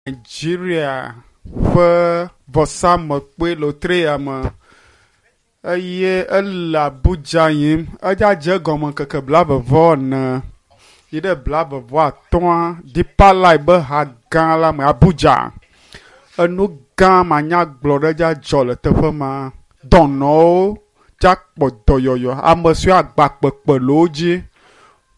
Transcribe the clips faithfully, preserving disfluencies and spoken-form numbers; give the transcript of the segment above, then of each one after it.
Nigeria ƒe vɔsamlekpui le wotri ya me eye ele Abuja yim. Edza dze egɔme ŋkeke blaeve vɔ ene yi ɖe blaeve vɔ atɔ̃a Deeper Life be ha gã la me Abuja. Enu gã manyagblɔ ɖe dza dzɔ le teƒe ma. Dɔnɔwo dza kpɔ dɔyɔyɔ. Ame siwo agba kpekpe le wo dzi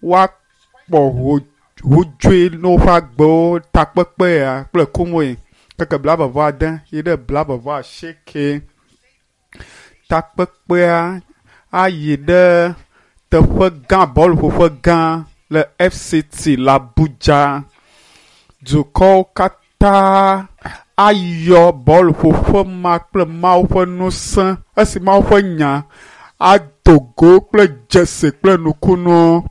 woakpɔ ho hodzoe ne woƒe agbewo takpekpe ya kple kumoe. Ŋkeke blaeve vɔ ade yi ɖe blaeve vɔ asieke. Takpekpea ayi ɖe teƒe gã bɔluƒoƒe gã le FCT le Abuja. Dukɔwo katã ayɔ bɔluƒoƒe ma kple Mawu ƒe ŋusẽ esi Mawu ƒe nya ado go kple dzesi kple nukunuwo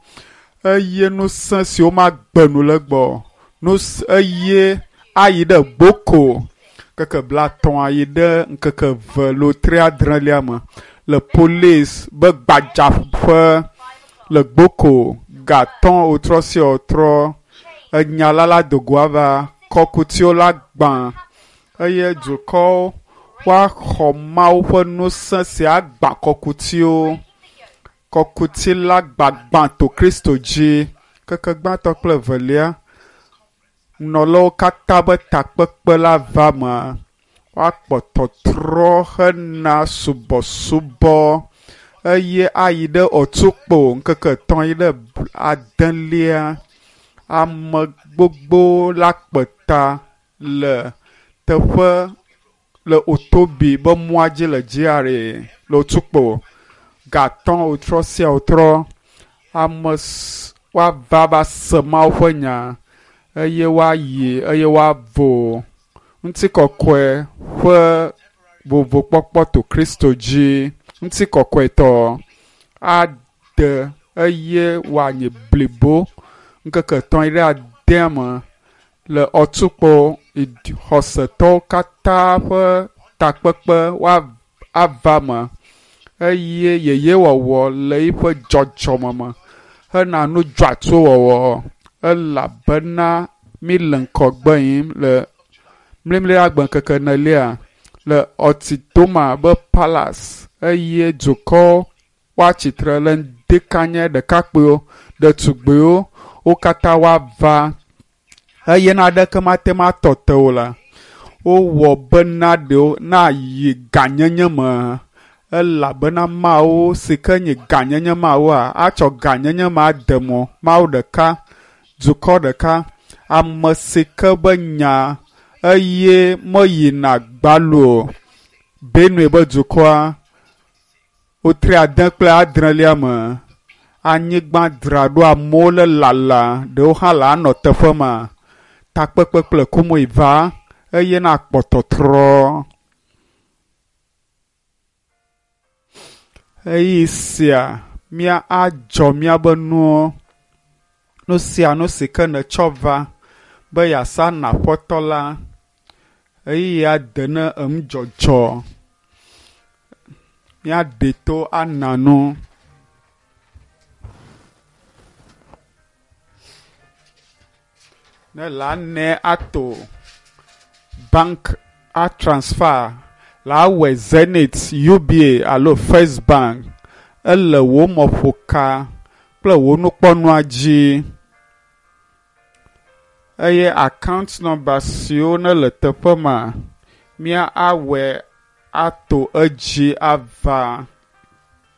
eye ŋusẽ si womagbe nu le egbɔ o. Ŋusẽ eye ayi ɖe Gboko ŋkeke blatɔ̃a yi ɖe ŋkeke eve lotri adrelia me le polisi be gbadzaƒe le Gboko gatɔ̃ wotrɔ sia wotrɔ enya la la do go ava kɔkutiwo la gbã eye dukɔwo woaxɔ Mawu ƒe ŋusẽ si agbã kɔkutiwo. Kɔkuti la gbagbã to Kristo dzi. Ŋkeke gbãtɔ kple evelia nɔlawo katã be takpekpe la va me. Woakpɔ tɔtrɔ hena subɔsubɔ eye ayi ɖe Otukpo ŋkeke etɔ̃ yi ɖe adelia. Ame gbogbo la kpe ta le teƒe le Otobi be mɔa dzi le GRA le Otukpo. Gatɔ̃ wotrɔ sia wotrɔ ame woava va se Mawu ƒe nya eye woayi eye woavo. Ŋutikɔkɔe ƒe vovokpɔkpɔ to Kristo dzi. Ŋutikɔkɔetɔ ade eye wòanyi blibo ŋkeke etɔ̃ yi ɖe adea me le Otukpo xɔsetɔwo katã ƒe takpekpe woava me eye yeyewɔwɔ le yiƒe dzɔdzɔme me hena nu dzɔatsuwo wɔwɔ elabena mi le ŋgɔgbe yim le mlimli agbe ŋkeke enelia le Otitoma be palace eye dukɔwo woatsitre le ŋdikanye ɖekakpuiwo, ɖetugbiwo wo katã woava eye naneke mate ŋu atɔ te wo la. Wowɔ bena ɖewo nayi gãnyenye me elabena Mawu si ke nye gãnyenye Mawua atsɔ gãnyenye ma ade mɔ. Mawu ɖeka, dukɔ ɖeka, ame si ke be nya eye meyina gbalo o. Benue be dukɔa wotri ade kple adrelia me. Anyigba dzra ɖo amewo le lala ɖewo hã le anɔ teƒe ma. Takpekpe kple kumoe va eye nakpɔ tɔtrɔ. Ɣeyiɣi sia mía adzɔ míabe nuwo. Nu sia nu si ke nètsɔ va be yeasa na Aƒetɔ la, ɣeyiɣia de ne enudzɔdzɔ. Míaɖe to ana nu. Ne le ane ato bank a transfer la awɔe Zenith, UBA alo First Bank ele wò mɔƒoka kple wò nukpɔnua dzi eye account number siwo ne le teƒe ma mía awɔe ato edzi ava.